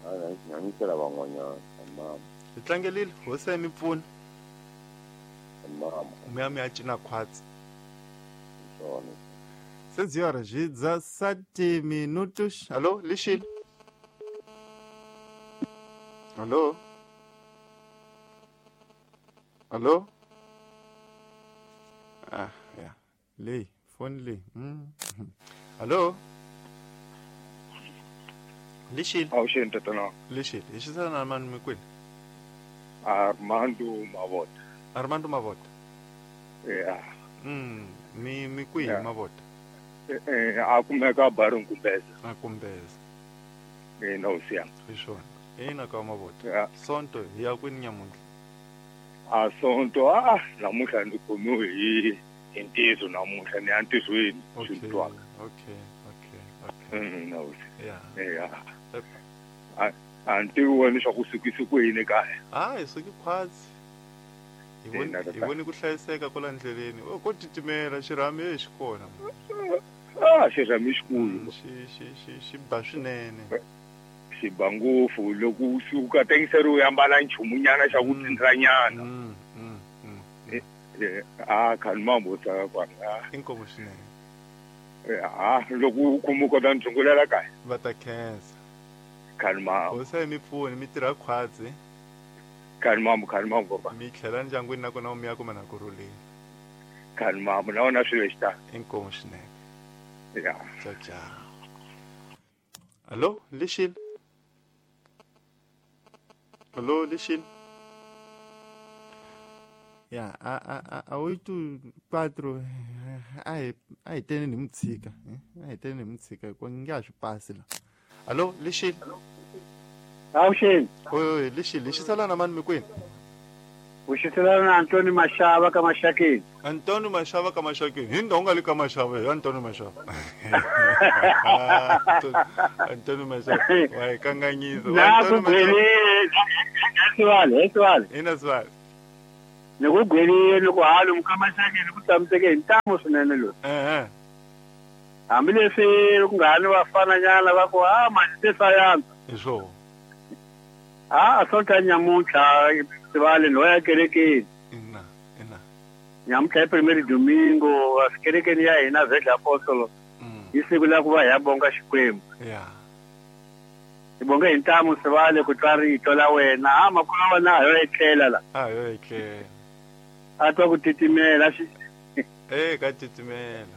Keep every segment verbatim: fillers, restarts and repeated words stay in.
A nyanyisela van'wanyana mama. Hi tlangelile hosi ya mi pfuna. Mama. Mi ya mi ya cina khwatsi. Swona. Sezi horas dezessete minutos. Alô, Lixile. Alô? Alô? Ah, yeah. Lei, fone lei. Hum. Alô? Lixile. Awuxini tatana. Lixile. Hi xisana na mani mi kwini? Armando Mavota. Armando Mavota. Yeah. Mm, mi mi kwihi Yeah. Mavota? Eh eh a kumeka baru Nkumbeza. A Kumbeza. Eh no siya. Hi swona. Ina ka Mavota. Yeah. Sonto hi ya kwini nyamuntlha? A sonto a namuntlha ndzi khomiwe hi hi ntizo namuntlha ni ya ntizweni Okay. swi twaka. Okay, okay, okay. Mm no. Yeah. Yeah. A a ntivi wena swa ku sukisi ku yini kaya. Ah, hi suki khwatsi. Hi voni Ina, hi tata. voni ku hlayiseka kwala ndleleni. O ko titimela xirhami e xi kona. Ah xirhami xikulu. Xi xi xi xi ba swinene. Xi ba ngopfu loko u suka tengiseri u ambala nchumunyana xa ku Mm. tsindranyana. Mm, mm, mm. Eh, eh, a khani mambo tsaka kwana. Inkomu swinene. Eh, ah loko u kuma u kota ndzungulela kaya. Va ta khensa. Khani mambo. Hosi ya mi pfuni mi tirha khwatsi. Khani mambo khani mambo baba. Mi tlhela ndyangwini nakona mi ya kuma na kurhuleni. Khani mambo na wona swilo xitalo. Inkomu swinene. Yeah. Tchau, tchau. Alô, Lixile. Alô, Lixile. Ya, a a a a oito quatro a hi a hi teni ni mutshika, a hi teni ni mutshika hikuva nge a swi pasi la. Alô, Lixile. Awuxini. Oi, Lixile, xisala na mani mi kwini? Uxiselana na Antoni Mashava ka Maxakeni. Antoni Mashava ka Maxakeni. Hi ndhawu nga le ka Mashava hi Antoni Mashava. Antoni Mashava. Wa hi kanganyisa. Na ku gwelile Sivale, Sivale. Ina Sivale. Ni ku gwelile ni ku halo ka Maxakeni ku tshamiseke hi ntamu swinene loyi. Eh eh. Hambileswi ku nga ha ni vafananyana va ku ah manje se sayansa. Hi swona. Ah, a sonta nyamuntlha Sivale no ya kerekeni. Ina, ina. Nyamuntlha i primero domingo, a kerekeni ya hina Vhedla Apostolo. Mm. Hi siku la ku va hi ya bonga Xikwembu. Yeah. Hi bonge hi ntamu Sivale ku twa rito la wena. Ah, makulu wa wena a yo etlela la. A yo etlela. A twa ku titimela xi. Eh, ka titimela.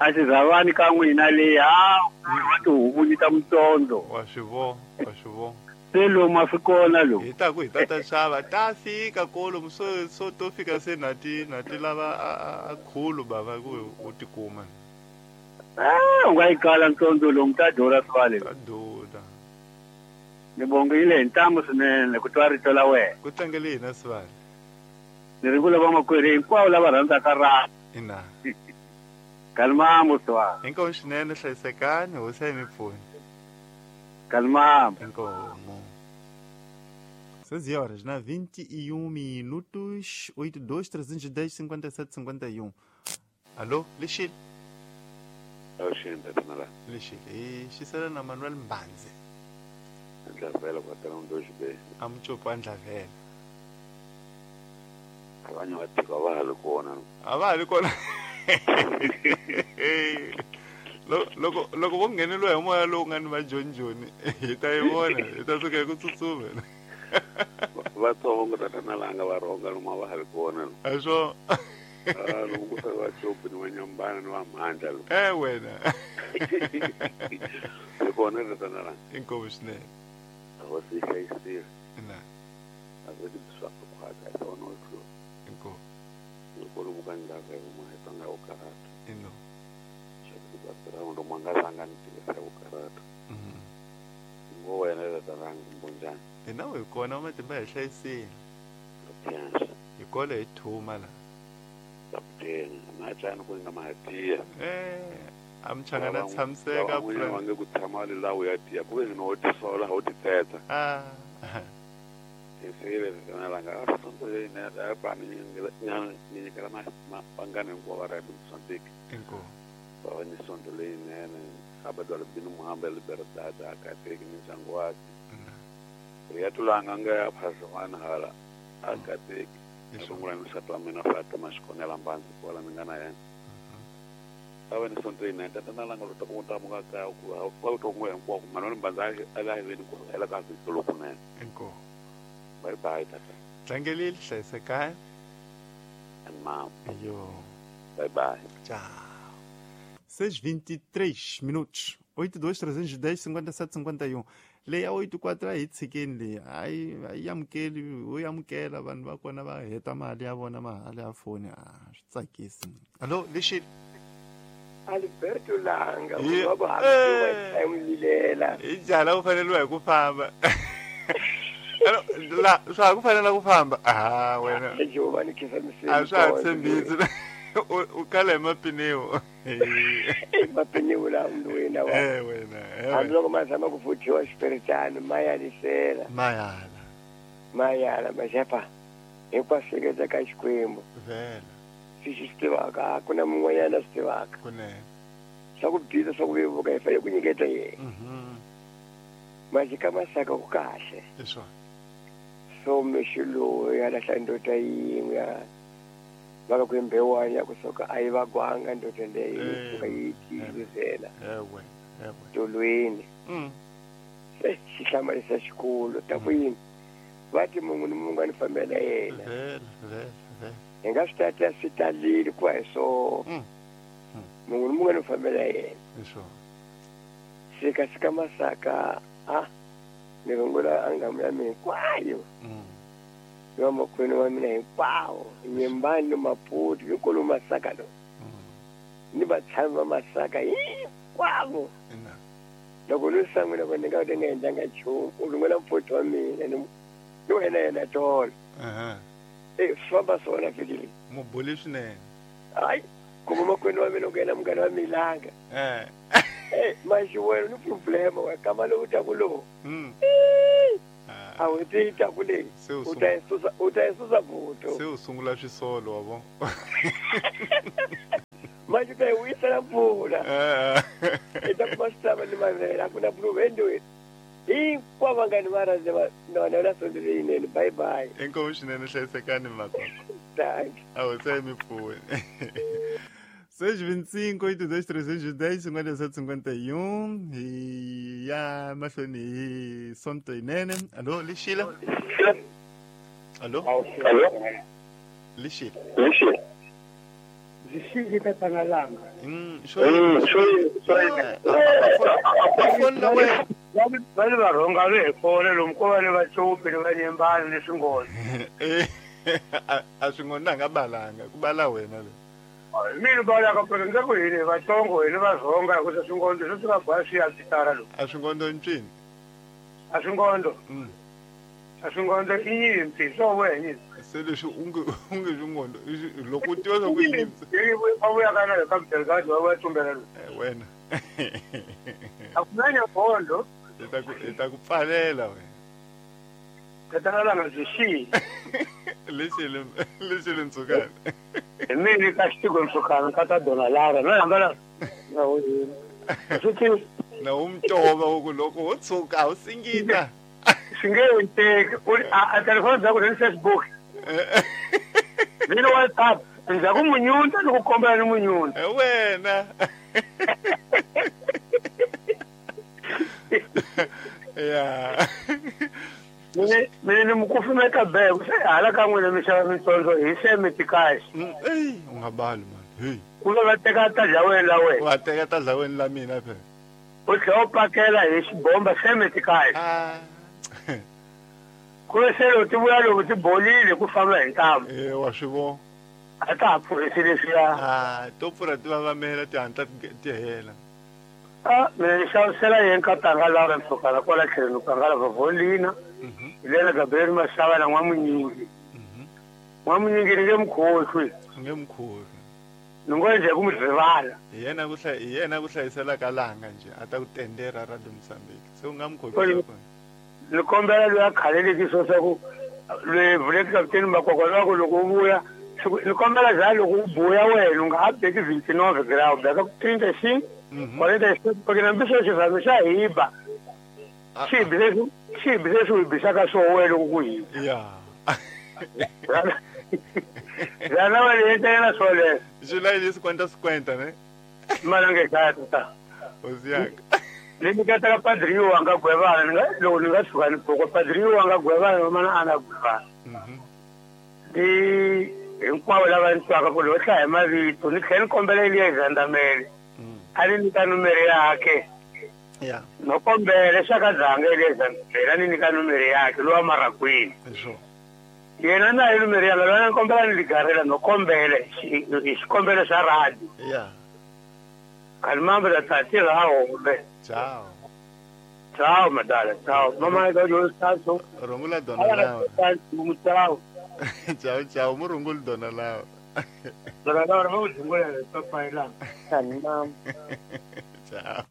A xizavani ka n'wina leyi, ah, wa tihuku ta mutsondzo. Wa swi vona, wa swi vona. Se lomu a swi kona lomu. Hi ta ku hi ta ta xava ta fika kolomu so so to fika se na ti na ti lava a khulu bava ku u tikuma. Ah, u nga yi kala ntsondzo lomu ta durha Sivale. Ta durha. Ni bongile hi ntamu swinene ku twa rito la wena. Ku tlangele hina Sivale. Ni ri vula vamakwerhu hinkwavo lava rhandzaka ra. Ina. Kalmamo Sivale. Inkomu swinene hlayisekani hosi ya mi pfuni. Kalmamo. Inkomu. Seis horas na vinte e um minutos, oito dois trezentos e dez cinquenta e sete cinquenta e um. Alô, Lixile. Awuxini tatana. Lixile. E xisela na Manuel Mbanze. Ndlavela quarteirão dois B. Amutshopo Ndlavela. Abanye va tiko a va ha ri kona. A va ha ri kona. Loko loko vo ngheneliwa hi moya lowu nga ni vajonjoni hi ta yi vona hi ta suka hi ku tsutsuma. Vatsongo tatana langa va rhonga lomu a va ha ri kona. A swo. Ah, loko ku ta va Chopi ni va Nyambana ni va Mhandla lo. Eh wena. Hi kona tatana langa. Inkomu swinene. Hosi yi hlayisile. Ina. A swi swa ku khwatsa hi swona u tlula. Inkomu. Loko lomu ka ndlaka hi kuma hi tlanga vukarata. Ino. Xa ku va nga rhanga ni tivisa vukarata. Mhm. Ngo wena tatana langa mbonjani. Hina hi kona matimba hi hlayisile. Hi kona hi thuma la. Kaputeni, machana ku nga mahatiya. Eh, amchangana tshamiseka pfuna. Wange ku tshama le lawo ya tiya, ku ve no tisola ho titeta. Ah. Esele tatana langa a sonto leyi ne da pa ni ni nyikela ma vangani hinkwavo va ra Mozambique. Inkomu. Va va ni sonto leyinene. Abadwala bino Muhamba Libertad a kateki ni ndyangu wakhe. Riyatulanga nga phazwana hala akateki rungula misatu wa mina Fatima Xikhongela Mbanzi kwala mi nga na yena a va ni sonto yinene tatana langa lota ku ta muka kaya ku va to n'we hinkwako Manuel Mbanzi a la hiveni ku hela ka vhiki lokunene inkomu bye bye tata tlangelile hlayisekani and mama yo bye bye tchau seis e vinte e três minutos oito dois trezentos e dez cinquenta e sete cinquenta e um leyi ya oito quatro a hi tshikeni leyi a yi a yi amukeli wo yi amukela vanhu va kona va heta mali ya vona mahala ya foni a swi tsakisi alo lexi Alberto Langa Ye- wa ku Eh. hambiwa hi jala u faneliwa hi ku famba alo la swa ha ku fanela ku famba ah wena Giovanni Khisamiseni a swa ha tshembisi u kala hi mapiniwo mapiniwo la wena wa eh wena eh hambi wena. loko ma zama ku vuthiwa xipiritano ma yalisela mayala ma yala maxepa hinkwaswo hleketa ka Xikwembu vhela swi xi swi tivaka a ku na mun'wanyana a swi tivaka kunene swa ku biza swa ku vevuka hi fanele ku nyiketa yena mhm majika masaka ku kahle hi swona so mexi lowu ya lahla ndoda yin'we ya va ka ku mbewani ya kusuka a yi vagwanga ndoda leyi Eh. suka yi tiyizela ewe ewe tolweni mm se xi hlamarisa xikulu ta ku yini va ti munhu ni munhu a ni fambela yena vhela vhela vhela hi nga swi tata swi talile ku va hi swona Mm. munhu ni munhu a ni fambela yena hi swona sika sika masaka a ni rungula angamu ya mina hinkwayo mm ni vamakwenu wa mina hinkwawo nyimbani ni Maputo hinkulu masaka lo mm ni vatshami va masaka hinkwavo ina loko ni san'wina ku ni nga ni nga endlanga nchumu u rungula mfoti wa mina ni ni wena yena tolo aha e swi famba swona fikile mubuli swinene hayi kuma makwenu wa mina ku yena munghana wa milanga eh e maxiwelo ni problema wa kama lowu taku lowu mm a wu ti taku leyi se u u ta yi susa u ta yi susa buto se u sungula swisolo wa vo manje u ta yi vuyisela mpfula eh i ta kuma switlava ni mavele a ku na puluva endlwini hinkwavo vangani va rhandze va na na sonto leyinene bye bye inkomu swinene hlayisekani makoko thank a wu se mi pfuni seis vinte e cinco oito dois trezentos e dez cinquenta e sete cinquenta e um hi ya mahlweni hi sonto yinene alo lexila alo lexila Zishili tatana Langa mm xo foni la wena va le varhonga ve hi kona lomu ko va ni vacopi ni va nyimbani ni swinghozi Eh, a a swi ngonanga balanga ku bala wena le mina balaka phela ndza ku hini vatsongo hini vazonga hikusa swinghondo swo swi nga boha swi ya pitara lomu a swi ngondo ncini a swinghondo mm a swinghondo i nyimpi swo vuya hi nyimpi se leswi u nge u nge swingondo loko u tiva swa ku yini va vuya ka na hi ka Belgrade va vuya tumbela lomu Eh, wena a ku na nyagondo hi ta ku hi ta ku pfalela wena tatana Langa byi xiyi lexi lexi le ntsukani hi mini ka xitiko nsukana ka ta dona Lara no hambana na swi ti na wu mutova wu ku loko wo tshuka a wu singita swi nge endleki u a a telefoni bya ku ni Facebook ni WhatsApp ndzhaku munyunta ni ku kombela ni munyunta Eh, wena ya mine mine ni mukufumeta beke se hala ka n'wina mi xava mitsondzo hi semiti kahle Mm, eyi u nga bali mani heyi ku ve va teka ta dlaweni la wena wa teka ta dlaweni la mina phela u tlhela u pakela hi xibomba semiti kahle ah ku ve se loko ti vuya loko ti bolile ku famba hi ntamu eh wa swi vona a ta ha pfurhisi leswiya ah to pfurha ti vavamela ti hatla ti ti hela a mina ni xavisela yena ka tanga Laura Msukana kwala tlhelweni ka ngala Vavolina mhm hi lena Gabriel Mashava na N'wamunyingi mhm N'wamunyingi ni nge mukhohlwi u nge mukhohlwi ni ngo njhe ku mi rivala hi yena ku hlay hi yena ku hlayisela ka langa nje a ta ku tendera Radio Mozambique se u nga Kwale- mukhohlwisa kona ni kombela loyi a khaleleki swo swa ku loyi vuleki kaputeni Makwakwa loyi a ku loko u vuya swi- ni kombela za loko u buya wena u nga ha beki vinte nove grau beka trinta e cinco mhm quarenta e cinco porque na mbiso xirhami xa hiba Xibi leswi xibi leswi u bisaka swo wena loko ku hisa. Ya. Zana wa le yena swoleswo. July lesi kwanta cinquenta, né? Malange tata. Osiaka. Ni nyiketa ka padri wanga gwevana ni nga loko ni nga tshuka ni pfuka padri wanga gwevana mana ana gwevana. Mhm. Ni hinkwavo lava ni twaka ku loko hlaya mavito ni tlhela ni kombela Elias Zandamele. A ni nyika numere yakhe. Ya. No kombela xaka dzanga Elias Zandamele a ni nyika numere yakhe lowa Marakwini. Sure. Yena na hi numere yanga lwana ni kombela ni ligarela no kombela hi xikombelo xa radio. Ya. Kalmamba da tati la hombe. Ciao. Ciao madala, ciao. Mama ga yo saso. Rungula dona Laura. Ciao. Ciao ciao, murungula dona Laura. Dona Laura mo zungula papai lá. Kalmamba. Ciao.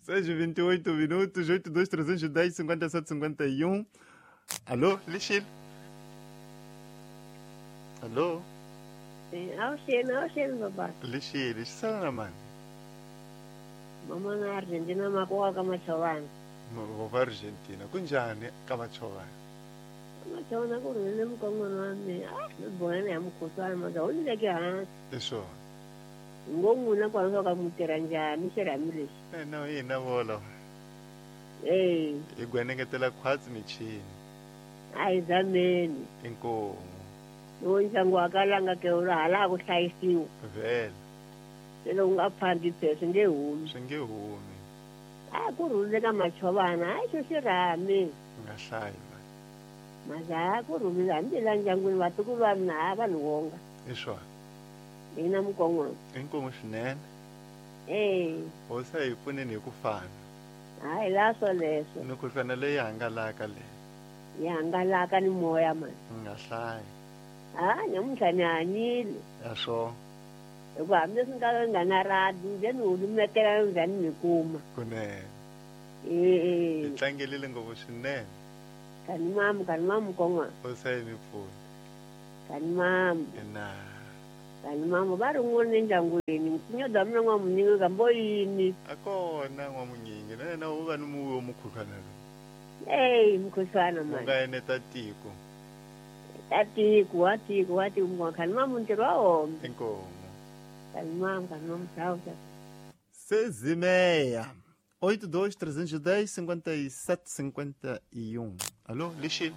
seis e vinte e oito minutos, oito dois três um zero, cinquenta e sete cinquenta e um. Alô, Lixil. Alô. Auxílio, auxílio, babá. Lixil, sana mano. Mama na Argentina makuwa kama chovana. Vova Argentina, kunjani kama chovana? Kama chovana kurele mkongono wami. Ah, mbona ya mkutwana maza ulileke hansi. Eso. Ngomuna kwa soka mutera njani xirhamile. Eh no ina volo. Eh. Igwenengetela khwatsi michini. Ayi zameni. Inkomo. Lowo ndyangu wa kalanga ke wu hala ku hlayisiwa. Vele. Se loko u nga phandli phe swi nge humi. Swi nge humi. A ku rhulile ka machovana hayi xo xirhami. Nga hlayi mani. Maza ku rhulile hambi la ndyangwini vatukulu va mina a va ni wonga. I swona. Ina mkon'wana. Inkomo swinene. Eh. Hosi a hi pfuneni hi ku fana. Hayi la swoleswo. Mikhuhlwana leyi hangalaka leyi. Yi hangalaka ni moya mani. Nga hlayi. Ah, namuntlha ni hanyile. Ya swo. Hikuva hambileswi ni nga nga na radi nje ni hulumetela njhani ni kuma. Kunene. Eh. Hi tlangelile ngopfu swinene. Kani mamu, kani mamu kon'wana. Hosi a yi mi pfuni. Kani mamu. Ina. Kani mamu va ri n'wana endyangwini nyoda mina n'wamunyingi kambo yini. A kona n'wamunyingi na yena u va ni muwi wa mukhuhlwana lowu. Eyi mukhuhlwana U mani. nga eneta tiko. Ta tiko wa tiko wa tiko mukhuhlwana kani mamu ntirho wa hombe. Inkomo. Kani mamu kani mamu ciao ciao. Seis e meia. Oito, dois, trezentos e dez, cinquenta e sete, cinquenta e um. Alô, Lixil.